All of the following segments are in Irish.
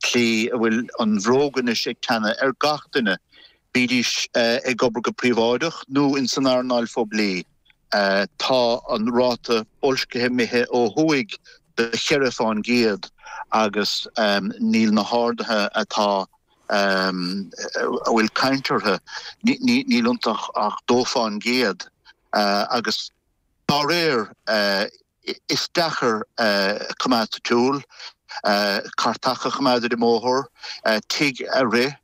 tslí a bhfuil an bhróg anois ag teannadh ar gach duine, bídís ag obair go príobháideach nó ins an earnáil phoiblí. Tá an ráta boilscithe imithe ó thuaidh de cheithre fán gcéad agus níl na harduithe atá a bhfuil caint orthu, níl iontu ach 2 fán gcéad agus dá réir is deacair coimeád sa tsiúl, cairteacha a choimeád ar an mbóthar, tigh a rith,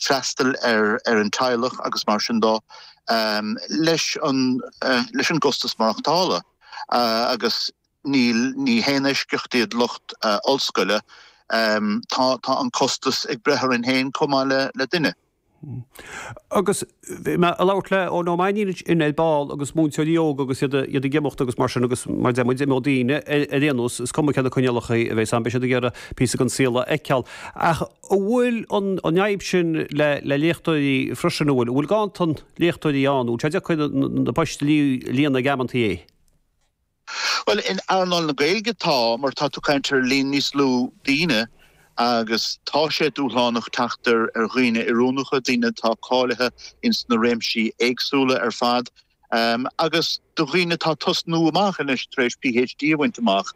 freastal ar an teaghlach agus mar sin dó leis an leis an gcostas maireachtála agus níl ní haon eisceacht iad lucht ollscoile, tá tá an costas ag breith orainn féin chomh maith le duine. Agus bhí mé ag labhairt le Eoin Ó Mainnín ansin ar ball agus múinteoirí óga agus iad iad ag imeacht agus mar sin agus mar deir muid imeoidh daoine ar ar aon nós, is cuma cé na coinníollacha a bheas ann, beidh siad ag iarraidh píosa den saol a fheiceáil. Ach an bhfuil an an fhadhb sin le le léachtóirí freisin, an bhfuil, an bhfuil ganntan léachtóirí ann, an bhfuil sé deacair na poist a líonadh ag amantaí? Bhuel, in earnáil na Gaeilge tá, mar tá tú ag caint ar líon níos lú daoine agus tá sé dúshlánach teacht ar dhaoine oiriúnacha, daoine atá cáilithe ins na réimsí éagsúla ar fad agus do dhaoine atá ag tosnú amach anois tar éis PhD a bhaint amach.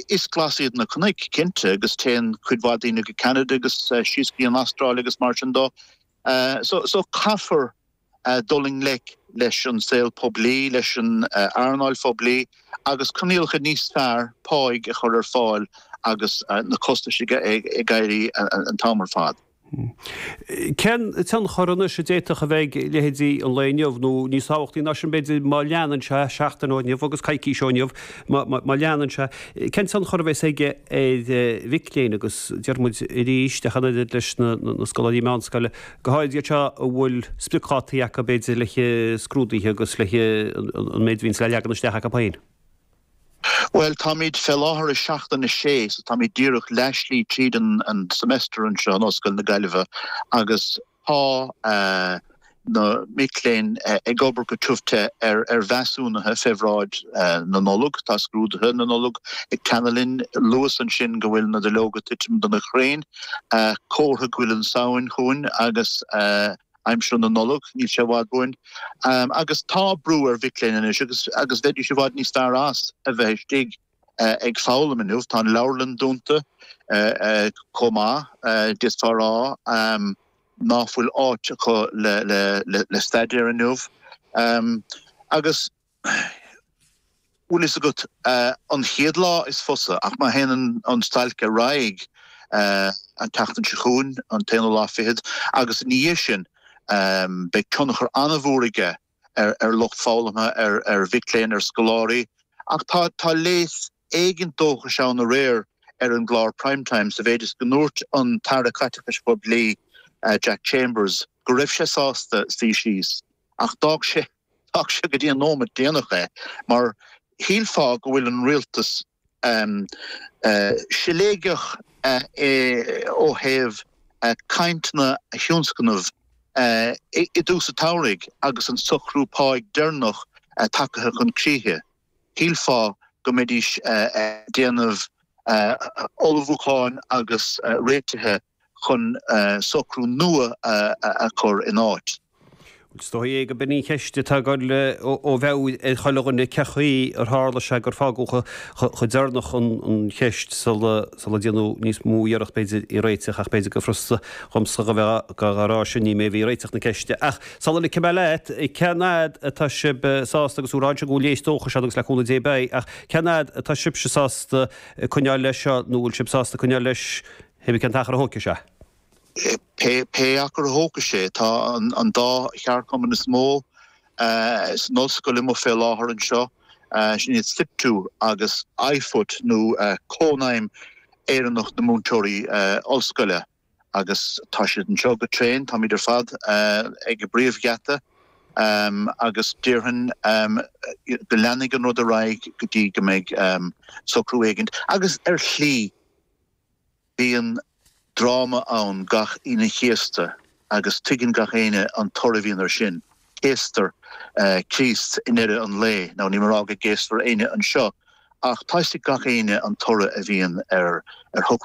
Is glas iad na cnoic, cinnte, agus téann cuid mhaith daoine go Ceanada agus síos go dtí an Astráil agus mar sin dó. So caithfear dul i ngleic leis an saol poiblí, leis an earnáil phoiblí agus coinníollacha níos fearr páigh a chur ar fáil agus na costais ag éirí an t-am ar fad. Cén tionchar anois a d'fhéadfadh a bheith ag leithéidí an lae inniu, nó níos tábhachtaí ná sin b'fhéidir, má leanann sé, seachtain ó inniu agus coicís ó inniu, má leanann sé, cén tionchar a bheas aige ar mhic léinn agus déarfaidh muid arís, ach an oiread leis na scoláirí meánscoile, Go háirid iad seo a bhfuil spriocdhátaí acu b'fhéidir le scrúduithe agus le an méid a bhíonns le leagan isteach acu féin. Bhuel, táimid fé láthair i seachtain a sé, so táimid díreach leathshlí tríd an semester anseo in Ollscoil na Gaillimhe agus tá na mic léinn ag obair go tiubh te ar mheasúnuithe fé bhráid na Nollag. Tá scrúduithe na Nollag ag teannadh linn. Luas ansin go bhfuil na duilleoga ag titim de na crainn. Comhartha go bhfuil an Samhain chugainn agus aimsir na Nollag, níl sé i bhfad uainn. Agus tá brú ar mhic léinn anois agus agus bheidís i bhfad níos fearr as a bheith istigh ag foghlaim inniu. Tá an leabharlann dúnta chomh maith, d'fhéadfá a rá ná fuil áit acu le staidéar inniu. Agus. Bhfuil fhios agat, an chéad lá is fusa, ach má théann an stailc ar aghaidh an tseachtain seo chugainn, an t-aonú lá fichead, agus ina dhiaidh sin, beidh tionchar an-mhór aige ar lucht foghlamtha, ar mhic léinn, ar scoláirí. Ach tá tá léas éigint dóchais ann aréir ar an gclár Prime Time sa mhéid is go ndúirt an tAire Caiteachais Phoiblí, Jack Chambers, go raibh sé sásta suí síos ach d'fhág sé D'fhág sé go dtí an nóimeat déanach é, mar shílfeá go bhfuil an rialtas siléigeach ó thaobh cainteanna a thionscnamh i dtús an tsamhraidh agus an socrú páigh deireanach tagtha chun críche. Shílfeá go mbeidís ag déanamh ullmhúcháin agus réitithe chun socrú nua a chur in áit. Is dóigh é gurb in an cheist atá ag dul ó mheabhair ar chuile dhuine, cén chaoi ar tharla sé gur fágadh chomh deireanach an cheist sula déanadh níos mó iarracht b'fhéidir í a réiteach ach b'fhéidir gur furasta dhomsa a bheith á rá sin, ní mé a bhí ag réiteach na ceiste. Ach sula ligfidh mé leat, cén fhad atá sibh sásta, agus tú ag rá ansin go bhfuil léas dóchais ann agus le cúnamh Dé beidh, ach cén fhad atá sibhse sásta coinneáil leis seo nó bhfuil sibh sásta coinneáil leis Pé cén t-achar a thógfaidh sé. Pé achar a thógfaidh sé, tá an dá cheardchumann is mó san ollscoil amuigh fé láthair anseo, sin iad Siptu agus IFUT nó Cónaidhm Éireannach na Múinteoirí Ollscoile agus tá siad anseo go tréan, táimid ar fad ag an bpríomhgheata agus déarfainn go leanfaidh an rud ar aghaidh go dtí go mbeidh socrú éigint agus ar shlí Bíonn dráma ann gach Aoine an Chéasta agus tuigeann gach éinne an toradh a bhíonn air sin. Céastar Críost i ndeireadh an lae. Now níl mé ag rá go gcéasfar éinne anseo ach tá 'fhios ag gach éinne an toradh a bhíonn ar shocrúchán.